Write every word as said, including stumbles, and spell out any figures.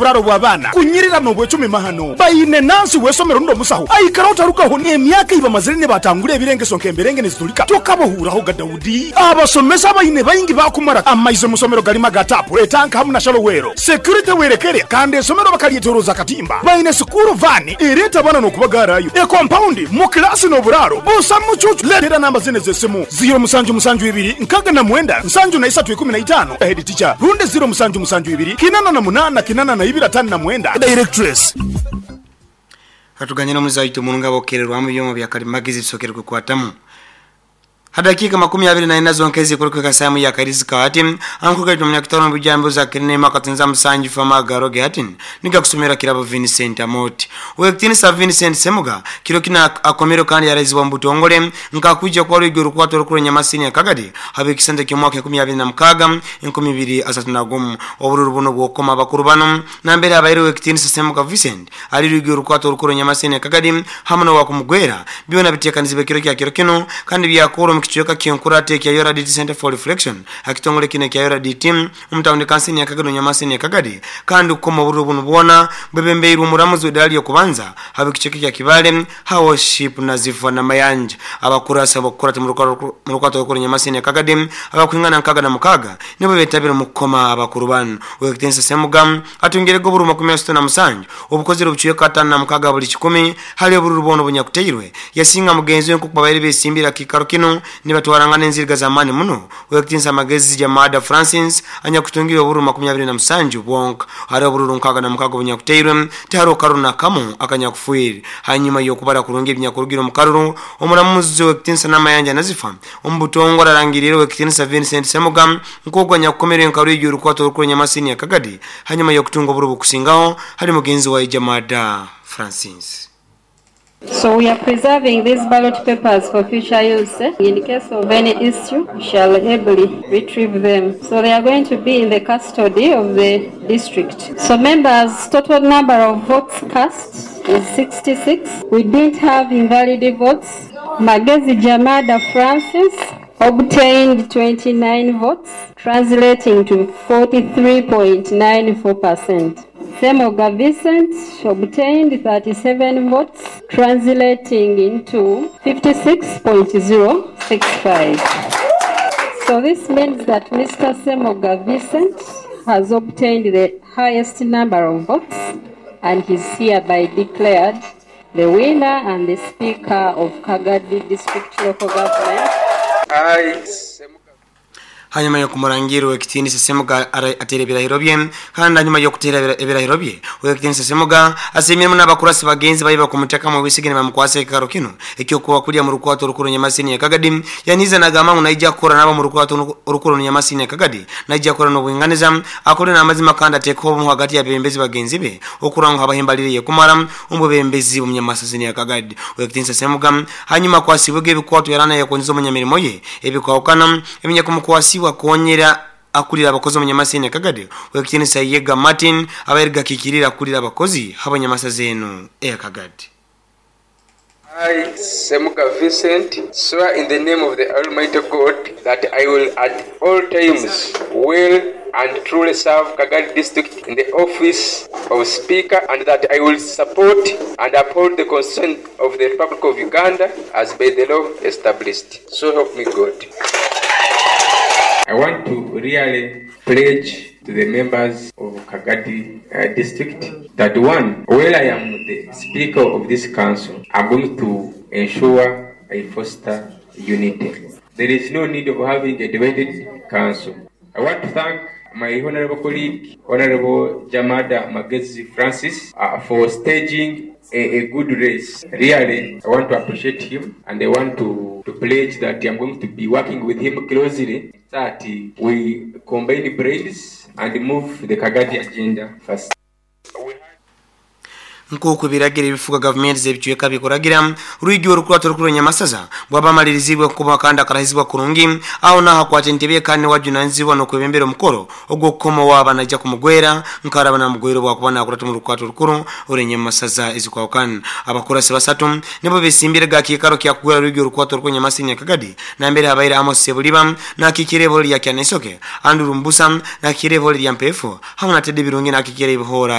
Oburaro bw'abaana kunyirira n'obwecumi mahano baine nansi w'esomero n'omusaho aikara otarugaho n'emyaka ibamazire ne batangura ebirengeso nk'emberenge nezitulika tokabahuuraho ga Daudi. Abasomesa baine baingi bakumara amaize musomero galima ga tapu etanka hamu na shalowero security werekere kandi esomero bakalyetoroza katimba baine sukuru vani ereta bana n'okubagarayo e compound mu klasi n'oburaro busa mucucu. Letera namba zine z'esimu ziro musanju musanju ibiri nkaga na mwenda nsanju na isatu ikumi na itano head teacher runde ziro musanju musanju ibiri kinana na munana kinana na ibiri atano na mwenda directress. Hatuganye n'omuzaitu mununga bokererwamu byoma bya kalimagezi bisokerwe kukwatamu hadakika makumi abiri na ina zonkezi kuruka samu ya karizika ati ankuka tumnya kitano bijambo za kinema katinza musanji fama garoge ati nika kusomera kirabo Vincent Amoti wektini sa Vincent Semuga kiro kina akomero kandi yarezibwa mbutongole nkakuja kwa rwigero rukwato rukuru nyamasini ya Kagadi habe kisende kimwaka makumi abiri na mukaga enkumi ibiri asatu na gumu obururu buno bwokoma bakuru bano nambere abaire wektini sa Semuga Vincent ali rwigero rukwato rukuru nyamasini ya Kagadi hamwe no wakumugwera byona bitekanizibe kiro kya kiro kino kandi byakoro kichweka kionkurate kya Yora D T Center for Reflection akitongole kine kya Yora D T umtawundi kansini ya Kagadi nyamasini ya Kagadi kandi ukoma bururu bunu bwona bebembeiru muramuzi wedali yo kubanza habe kichweka kya Kibale Worship na zifa na mayanja abakurasa abakurate murukwato rukuru nyamasini ya Kagadi abakwingana nkaga na mukaga nibo betabira mukoma abakuru bano wekitensa Semuga atungerego buru makumi asatu na musanju obukozero obuchweka atano na mukaga buli kikumi hali obururu bono bunyakuteirwe yasinga mugenzi we nkuko besimbira kikaro kino nibatwarangana enziriga zamani muno wektinsa magezi Jamada Francis anyakutungira oburu makumi abiri na musanju bwonka hari obururu nkaga na mukaga bunyakuteirwe tiharo karuna kamu akanyakufuiri hanyuma yokubara kurungi ebinyakurugira omukaruru omuramuzi wektinsa namayanja nazifa omubutongora arangirire wektinsa Vincent Semuga nkogwa nyakukomere nkaru ijuru rukwato rukuru nyamasini ya Kagadi hanyuma yokutunga oburu bukusingaho hari mugenzi wa Jamada Francis. So we are preserving these ballot papers for future use. In case of any issue, we shall ably retrieve them. So they are going to be in the custody of the district. So members, total number of votes cast is sixty-six. We didn't have invalid votes. Magezi Jamada Francis obtained twenty-nine votes, translating to forty-three point nine four percent. Semoga Vincent obtained thirty-seven votes, translating into fifty-six point zero six five. So this means that Mister Semoga Vincent has obtained the highest number of votes and is hereby declared the winner and the Speaker of Kagadi District Local Government. I, Semoga. Hanyuma yo kumurangiro ekitini Semuga atere birahiro bye kandi hanyuma yo kutera ebirahiro bye ekitini Semuga asimira n'abakurasi bagenzi bayiba kumuteka mu bisigene bamukwase karo kino ekyo kuwa kulya mu rukwato rukuru nyamasini ya Kagadi yaniza nagama unaija kora nabo mu rukwato rukuru nyamasini ya Kagadi naija kora no bwinganiza akore n'amazima kandi ateko mu hagati ya bembezi bagenzi be okuranga abahimbaliriye kumara umubembezi umnyamasini ya Kagadi ekitini Semuga hanyuma kwasibwe ebikwato yarana yakonzo munyamirimo ye ebikawukana eminya kumukwasi wakonyera akulira abakozi omunyamasini ya Kagadi wekitinisa Yega Martin abayerga kikirira akulira abakozi habanyamasa zenu e Kagadi. I, Semuga Vincent, swear in the name of the Almighty God that I will at all times will and truly serve Kagadi District in the office of Speaker, and that I will support and uphold the Constitution of the Republic of Uganda as by the law established. So help me God. I want to really pledge to the members of Kagadi uh, District that one, while I am the Speaker of this council, I'm going to ensure I foster unity. There is no need of having a divided council. I want to thank my honorable colleague, Honorable Jamada Magezi Francis, uh, for staging a, a good race. Really, I want to appreciate him, and I want to, to pledge that I'm going to be working with him closely that we combine brains and move the Kagadi agenda first. Nkuko biragira ibifuga government zebichweka bikoragira ruigyo rukwato rukuru nyamasaza bwabamalirizibwe kuba kandi akarahizibwa kurungi aho naho kwate ntebe kandi wajunanzibwa no kwebembera omukoro ogwo koma waba najja kumugwera nkaraba na mugwero bwakuba nakurata mu rukwato rukuru urenye masaza ezikwawukana abakurasi basatu nibo besimbire gakikaro kya kugwera ruigyo rukwato rukuru nyamasini Kagadi nambere abaire Amos Sebuliba nakikire boli ya Kyanesoke Andrew Mbusa nakikire boli ya Mpefu hamwe na Teddy Birungi nakikire ibihora.